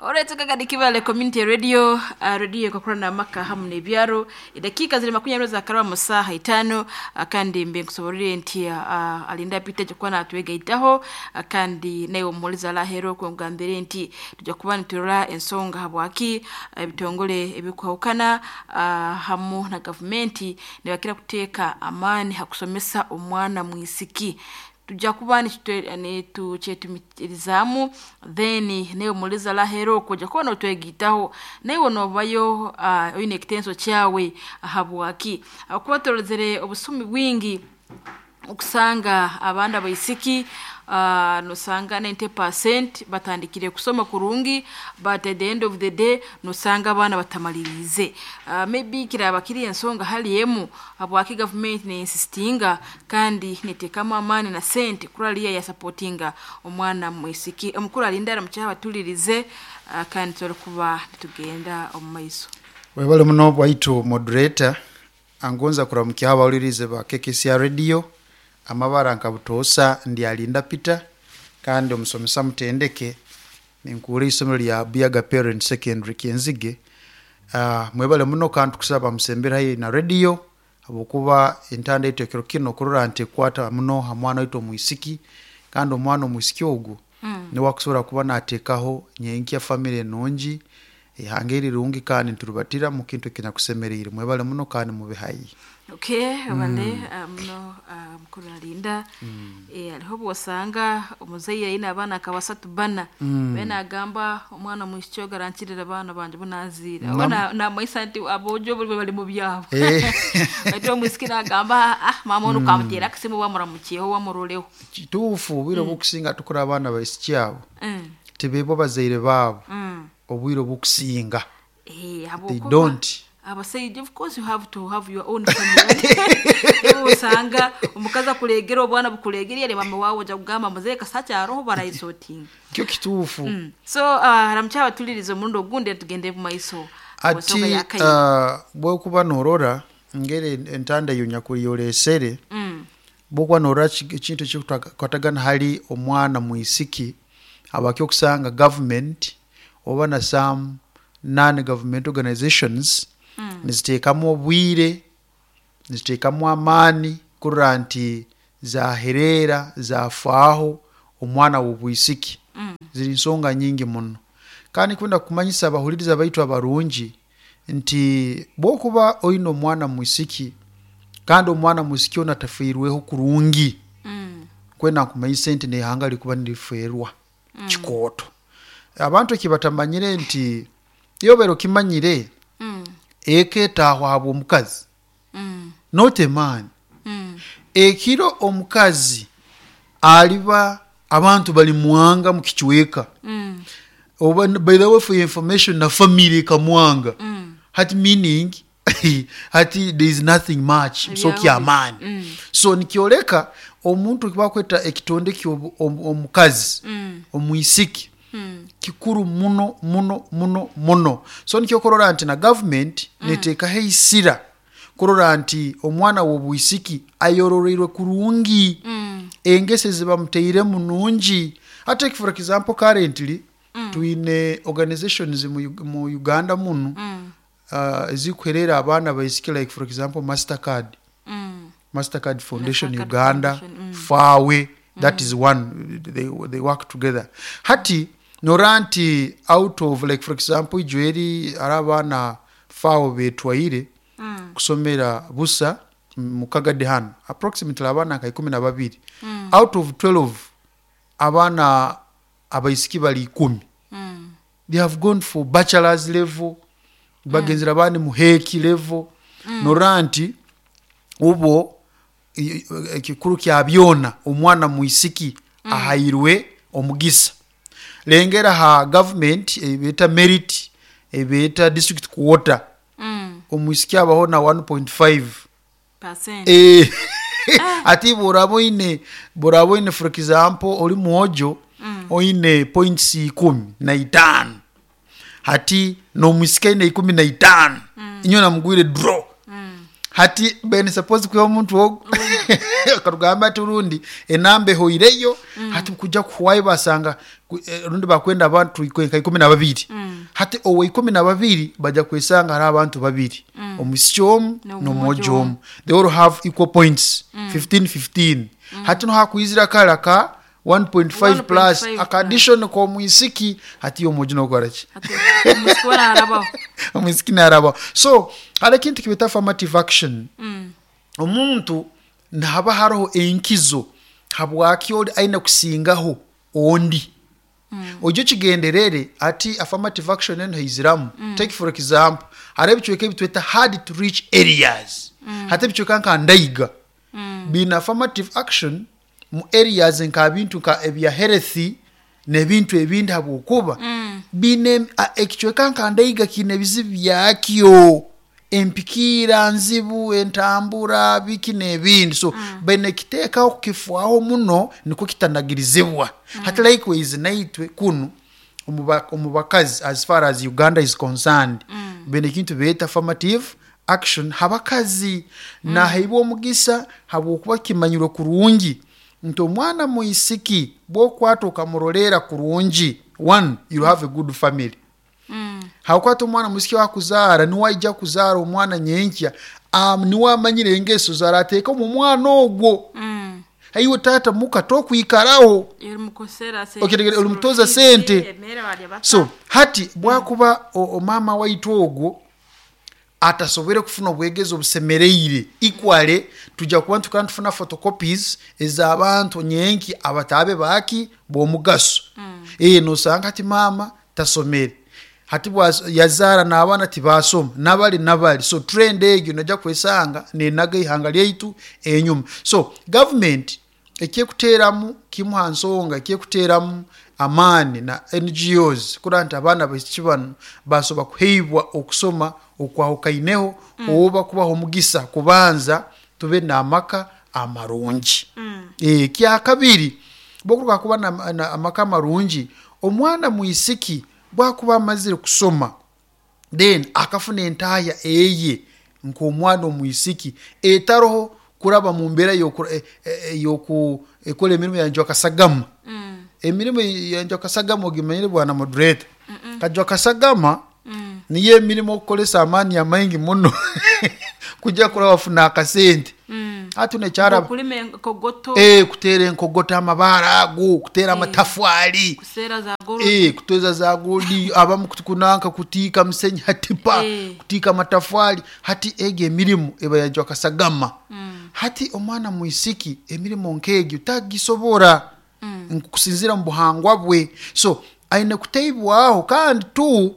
Olwetugagadi Kibale Community Radio, radio ekokora n'amaka hamu n'ebyaro. Edakiika ziri 20 zakaraba mu saaha 5, kandi mbe nkusoborere nti alinda Peter aija kuba natwegaitaho, kandi naiwe omuhulizi arahera okwo nkugambire nti tujja kuba niturora ensonga habwaki ebitongole ebikwahukana hamu na gavumenti nibakira kuteeka amaani ha kusomesa omwana mwisiki. Tujja kuba nitukyetumikirizaamu, then naiwe omuhulizi arahera okwo ojja kuba notwegaitaho, naiwe nobayo oine ekitenso kyawe habwaki. Habwokuba turozere obusumi bwingi okusanga abaana abaisiki, nosanga 90% batandikire kusoma kurungi, but at the end of the day nosanga abaana batamaliriize. Maybe kiraba kiri ensonga hali emu habwaki gavumenti neinsistinga kandi neteekamu amaani na sente kurora yasapotinga omwana mwisiki. Omukuru alinda aramukye abatulirize, kandi tusobole kuba nitugenda omu maiso. Webale muno bwaitu moderator, angonza kuramukya abahulirize ba KKCR Radio, amabara nka butoosa ndi Alinda Peter kandi omusomesa mutendeke ninkuura eisomero lya Buyaga Parent Secondary Kyenzige. Mwebale muno kandi tukusaba musembere haihi na radio habwokuba entanda yaitu ekiro kinu kurora nti ekwata muno ha mwana waitu omwisiki, kandi omwana omwisiki ogu niwe akusobora kuba nateekaho nyenkya family enungi, eihanga erirungi kandi nituribatira mu kintu ekinyakusemeriire. Mwebale muno kandi mube haihi. Okay, webale muno mukuru Alinda. Hariho obwosanga omuzaire aine abaana nka basatu bana, abe nagamba omwana omwisiki ogu arankirira abaana bangye abu naziire. Namanyisa nti aboojo bo bari mu byabo. Baitu omwisiki nagamba maama onu kamuteere akasimu bamuramukyeho bamuroleho. Kituufu obwire obukusinga tukura abaana abaisiki abo tibeebwa bazaire baabo obwire obukusinga. They don't. Abasaija, of course you have to have your own family. Osanga omukazi akuregera obwana bukuregera yari mama wawe oja kugamba muzehe kasakyaroho barayisotinga. Kyo kituufu. So ramukye abatulirize omurundi ogundi tugende mu maiso. Ati bwokuba norora ngeri entanda eyo nyakuri yoresere, bwokuba norora ekintu ekikukwatagana hali omwana mwisiki, habwaki okusanga government oba na some non-government organizations niziteekamu obwire, niziteekamu amaani kurora nti zahereera, zafaaho omwana w'obwisiki. Ziri nsonga nyingi muno. Kandi kwenda kumanyisa abahuliriza baitu abarungi nti bwokuba oine omwana mwisiki kandi omwana mwisiki onu atafiirweho kurungi, kwenda nkumanyise nti n'eihanga likuba nirifeerwa kikooto. Abantu eki batamanyire nti iwe obaire okimanyire eka etaahwa habw'omukazi, not a man. Ekiro omukazi aliba abantu balimwanga mu kicweka, oba by the way for your information na family ekamwanga, hati meaning hati there is nothing much so kyamaani. So nikyoleka omuntu ekibakweta ekitonde ky'omukazi omwisiki kikuru muno muno muno muno. So nikyo okurora nti na government neteekaho eisira kurora nti omwana w'obwisiki ayororeirwe kurungi, engeso ezi bamutairemu nungi. Hati for example currently twine organizations mu Uganda munu ezikuhereera abaana abaisiki like for example Mastercard, Mastercard Foundation Uganda, FAWE, that is one, they work together. Hati norora nti out of like for example ijo eri hariho abaana FAWE betwaire kusomera busa mu Kagadi hanu, approximately abaana nka 12, out of 12 abaana abaisiki bari 10. They have gone for bachelors level, bagenzire abandi mu HEC level, norora nti obwo ekikuru kya byona omwana mwisiki ahairwe omugisa. Lengera ha government ebeeta merit, ebeeta district quota, omwisiki abaho na 1.5. Ati bworaba oine, bworaba oine for example ori mwojo oine points 15, hati n'omwisiki aine 15, inywena mugwire draw. Hati beni suppose kwiha omuntu ogu. Katugambe ati rundi enamba ehoireyo, hati kujja kuhwayo basanga rundi bakwenda abantu nka 12. Hati owa 12 bajja kwesanga hariho abantu babiri, omwisiki omu n'omwojo omu. They all have equal points, 15 15. Hati no hakwizira kara ka 1.5 plus 1.5 akaddition k'omwisiki, hati omwojo nokora ki? Omwisiki we narabaho. Omwisiki narabaho. So hariho ekintu kibeta affirmative action. Omuntu nihaba hariho enkizo habwaki ori aine kusingaho ondi, ojye okigenderere ati affirmative action enu heiziramu. Take for example, hariho ebicweka ebi tweta hard to reach areas. Hati ebicweka nka Ndaiga biine affirmative action mu areas nka bintu nka ebya health n'ebintu ebindi, habwokuba biine ekicweka nka Ndaiga kiine ebizibu byakyo, empikiira nzibu, entambura, biki n'ebindi. So baine kiteekaho kukifwaho muno nikwo kitanagirizibwa. Hati likewise naitwe kunu omu bakazi, as far as Uganda is concerned, baine ekintu beeta affirmative action habakazi. Naheibwa omugisa habwokuba kimanyirwe kurungi nti omwana mwisiki bwokwata okamuroleera kurungi, one, you have a good family. Hakwata omwana mwisiki wakuzaara, niwe aija kuzaara omwana nyenkya, niwe amanyire engeso zarateeka omu mwana ogwo. Aiwe taata muka tokwikaraho. Olimukosera. Okay, olimutoza sente. So hati bwakuba omama waitu ogwo atasobore kufuna obwegezi obusemereire equally, tujja kuba nitukaba nitufuna photocopies ez'abantu nyenki abatabe baki b'omugaso. Nosanga hati maama tasomere, hati yazaara n'abaana tibasoma, nabali nabali. So trend egyo nojja kwesanga nenaga ihanga lyaitu enyuma. So government ekyekuteeramu kimu ha nsonga ekyekuteeramu amaani na NGOs kurora nti abaana baisiki banu basobola kuheibwa okusoma okwahukaineho, oba kubaha omugisa kubanza tube n'amaka amarungi. Ekyakabiri, bwokuruga kuba na amaka amarungi, omwana mwisiki bwakuba amazire kusoma, then akafuna entaya eye nk'omwana omwisiki etaroho kuraba mu mbeera y'okukora emirimo ya njwakasagama. Emirimo ya njwakasagama ogimanyire, bwana moderator? Kajwakasagama niyo emirimo okukoresa amaani amaingi muno kujya kuraba wafuna akasente. Hati nekyaraba Okulima enkogoto. Kuteera enkogoto, amabaare ago, kuteera amatafari. Kuseera za gold. Kuteeza za gold, abamu kunanka kutiika musenyi hatipa, kutiika amatafari. Hati ego emirimu eba yajwakasagama. Hati omwana mwisiki emirimo nk'egyo tagisobora nkusinzira mu buhangwa bwe, so aine kuteibwaho. Kandi tu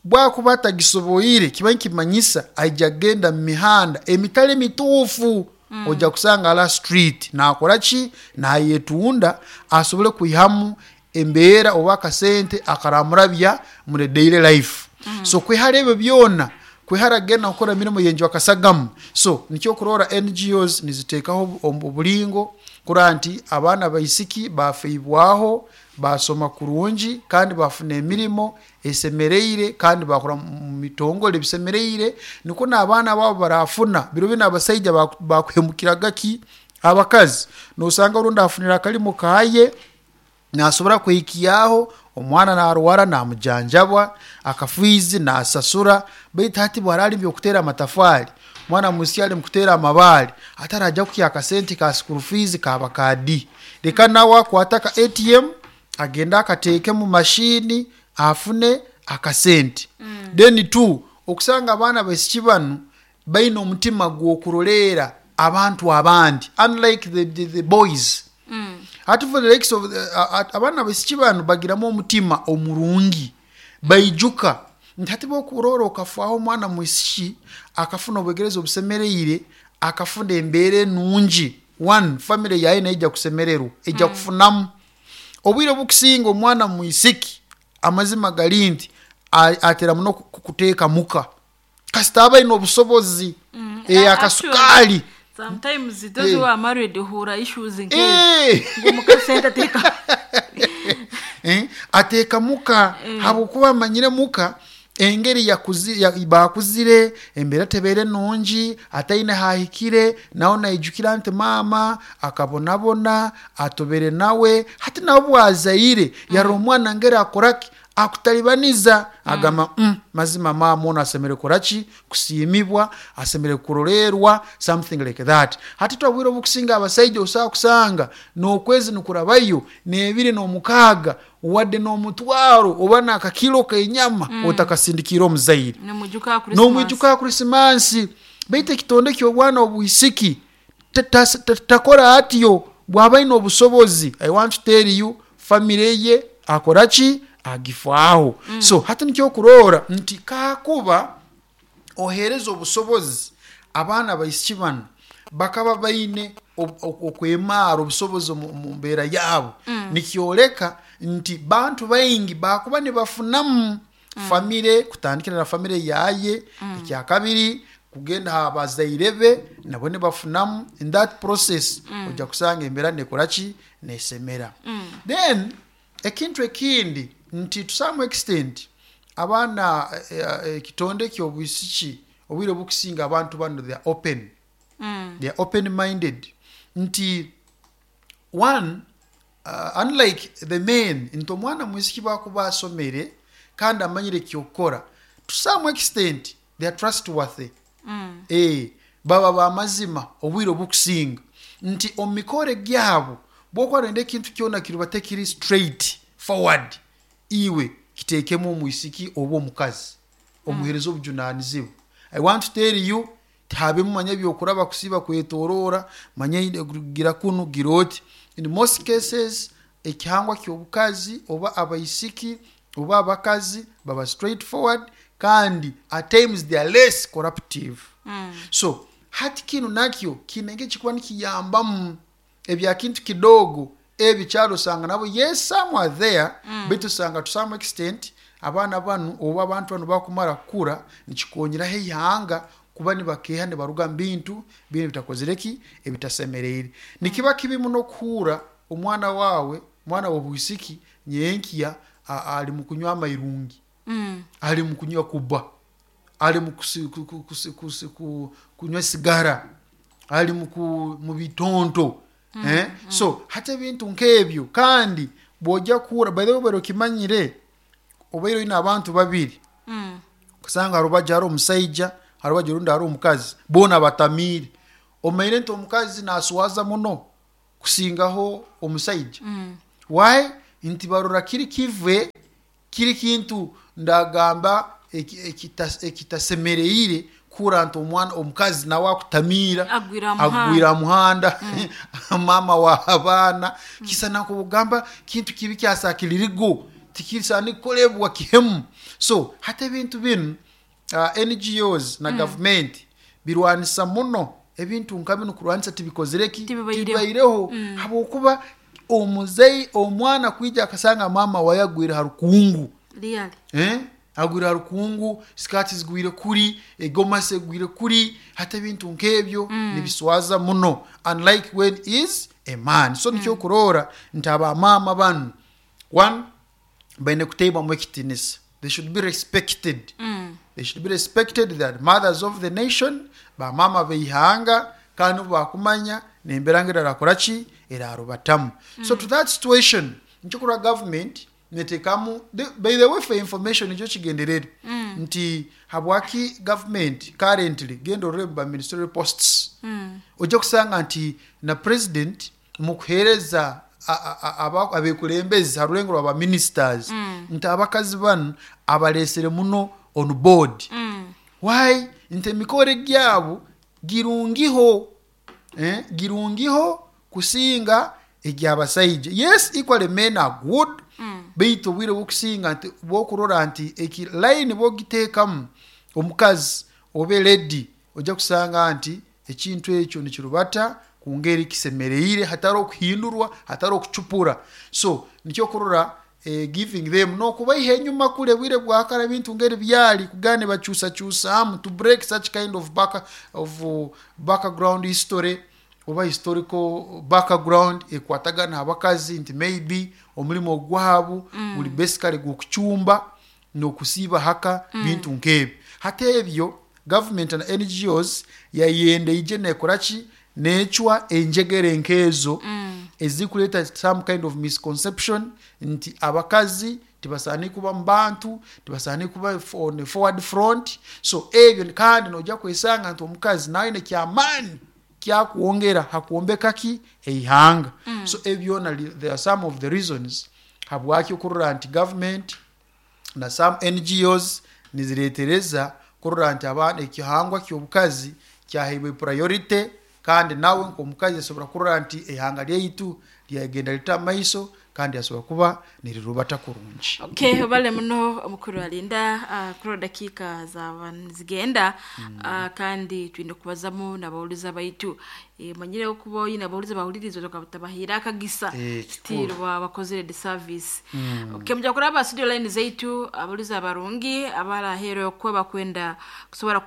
bwakuba atagisoboire, kiba nikimanyisa aija kugenda mu mihanda emitali mituufu. Ojja kusanga ala street nakora ki? Nayetunda asobole kwihamu embeera oba akasente akaramurabya muri daily life. So kwehara ebyo byona, kwehara kugenda kukora emirimo yenjwakasagama. So nikyo kurora NGOs niziteekaho obulingo kurora nti abaana baisiki bafeibwaho, basoma kurungi, kandi bafuna emirimo esemereire, kandi bakora mu mitongole ebisemereire, nikwo n'abaana babo barafuna. Biro binu abasaija bakuhemukiraga ki abakazi. Nosanga orundi afunire akalimo kaye, nasobora kwehikyaho omwana, narwara namujanjabwa, akafiizi nasasura. Baitu hati bwarali byokutera amatafari, mwana mwisiki ali mukutera amabaare, atarajya kuhya akasente ka school fees kaba kadi, reka nawe akwata ka ATM agende akateeke mu mashini afune akasente. Then two, okusanga abaana baisiki banu baine omutima gw'okuroleera abantu abandi, unlike the boys. Hati for the likes of abaana baisiki banu bagiramu omutima omurungi, baijuka nti hati bwokurora okafaho omwana mwisiki akafuna obwegereza obusemereire, akafuna embeera enungi, one, family yaye neija kusemererwa, ejja kufunamu. Obwire obukusinga omwana mwisiki, amazima gali nti atera muno kuteeka muka kasita aba aine obusobozi. Akasukali. Sometimes those who are married hura issues nke ngo mukasente ateka. Ateeka muka habwokuba amanyire muka. Engeri bakuzire embeera tebeere nungi, ataine hahikire, nawe naijukira nti maama akabonabona, atobere nawe, hati nawe bwazaire yarora omwana ngeri akoraki, akutalibaniza, agamba mazima maama onu asemere kukoraki, kusiimibwa, asemere kurolerwa, something like that. Hati twabwire obukusinga abasaija osobola kusanga n'okwezi nikurabayo n'ebiri n'omukaaga wadde n'omutwaro oba n'akakilo k'enyama otakasindikiire omuzaire. Nomwijuka Christmas. Nomwijuka Krisimansi. Baitu ekitonde ky'obwana obwisiki takora atyo. Bwaba aine obusobozi, I want to tell you, famire ye akora ki, agifaaho. So hati nikyo kurora nti kakuba ohereza obusobozi abaana baisiki banu bakaba baine okwemara obusobozi omu mbeera yaabo, nikyoleka nti bantu baingi bakuba nibafunamu famire, kutandikira na famire yaye, ekyakabiri kugenda ha bazaire be nabo nibafunamu. In that process ojja kusanga embeera nekoraki, nesemera. Then ekintu ekindi nti to some extent abaana ekitonde ky'obwisiki obwire obukusinga abantu bano they are open. They are open minded nti one, unlike the men, nti omwana mwisiki bakuba asomere kandi amanyire ekyokukora, to some extent they are trustworthy. Baba bamazima obwire obukusinga nti omu mikore gyabo bwokuba noyenda ekintu kyona kiriba tekiri straight forward, iwe kiteekemu omwisiki oba omukazi omuhereza obujunanizibwa. I want to tell you, tihabemu manya ebyokuraba kusiba kwetorora, manya gira kunu gira oti. In most cases ekihangwa ky'obukazi oba abaisiki oba abakazi baba straight forward, kandi at times they are less corruptive. So hati kinu nakyo kiine ekikuba nikiyambamu ebya kintu kidogo ebikyaro osanga nabo, yes, some are there, baitu osanga to some extent abaana banu oba abantu banu bakumara kukura nikikonyeraho eihanga kuba nibakeeha nibaruga mu bintu binu bitakozire ki, ebitasemereire. Nikiba kibi muno kuhuura omwana wawe, omwana w'obwisiki nyenkya ali mu kunywa amairungi, ali mu kunywa kuba, ali mu kunywa sigara, ali mu bitonto. So hati ebintu nk'ebyo, kandi bw'ojya kuhura, by the way, obaire okimanyire obaire oine abantu babiri, kusanga harubaju hari omusaija, harubaju orundi hari omukazi, boona batamiire, omanyire nti omukazi naswaza muno kusingaho omusaija. Why? Nti barora kiri kive kiri kintu ndagamba ekitasemereire kuhura nti omwana omukazi nawe akutamiira Agwira agwira muhanda, mama wa abaana, kisa nakubugamba kintu kibi kyasakiririgo tikisani kukolebwa kihemu. So hati ebintu binu NGOs na government birwanisa muno ebintu nka binu, kurwanisa tibikozireki, Tibibaireho. Tibibaireho, habwokuba omuzei omwana kwija akasanga mama waye agwire ha rukungu. Really? Agwire ha rukungu, sikati zigwire kuri, egomasi egwire kuri, hati ebintu nk'ebyo nibiswaza muno, unlike when is a man. So nikyo kurora nti abamama banu, one, baine kuteibwamu ekitinisa, they should be respected. They should be respected, they are mothers of the nation, bamama beihanga, kandi obu bakumanya nembeera ngu erarakora ki, erarubatamu. So to that situation nikyo kurora government netekamu by the way, for information, nikyo kigenderere nti habwaki government currently, genda orore ba ministerial posts, ojja kusanga nti na president mukuhereza abekulembezi ha rulengo rwa ba ministers, nti abakazi banu abalesere muno on board. Why? Nti emikore gyabo girungiho, girungiho kusinga egyabasaija. Yes, equally men are good, baitu obwire bwokusinga nti bwokurora nti eki line bwogiteekamu omukazi oba lady, ojja kusanga nti ekintu ekyo nikirubata ku ngeri kisemereire, hatari okuhindurwa, hatari okucupura. So nikyo kurora giving them nokubaiha enyuma kule bwire bwakara ebintu ngeri byali kugana nibakyusakyusamu to break such kind of background history oba historical background ekwatagana abakazi nti maybe omulimo gwabo guli basically gw'okucumba. N'okusiiba haka, bintu nk'ebyo. Hati ebyo gavumenti na NGOs yayenda ije nekora ki? Necwa enjegere nk'ezo ezikuleeta some kind of misconception nti abakazi tibasaani kuba mu bantu, tibasaani kuba on forward front. So ebyo, kandi nojja kwesanga nti omukazi nawe aine kyamaani kyakwongera hakwombeka ki? Eihanga. So ebyo byona there are some of the reasons habwaki okurora nti government na some NGOs niziretereza kurora nti abaana, ekihangwa ky'obukazi kyaheibwe priority, kandi nawe nk'omukazi asobora kurora nti eihanga lyaitu lyagenda lita maiso kandi asobora kuba nirirubata kurungi. Okay, bale muno omukuru alinda kurora dakiika zaba nizigenda, kandi twine kubazamu nabawuliza baitu. Manyire okuba oyine abawuliza bahuliriza otabahira akagisa. Kikuru. Still bakozere the service. Okay, muja kuraba studio line zaitu, abawuliza abarungi abarahero okuba bakwenda kusobora.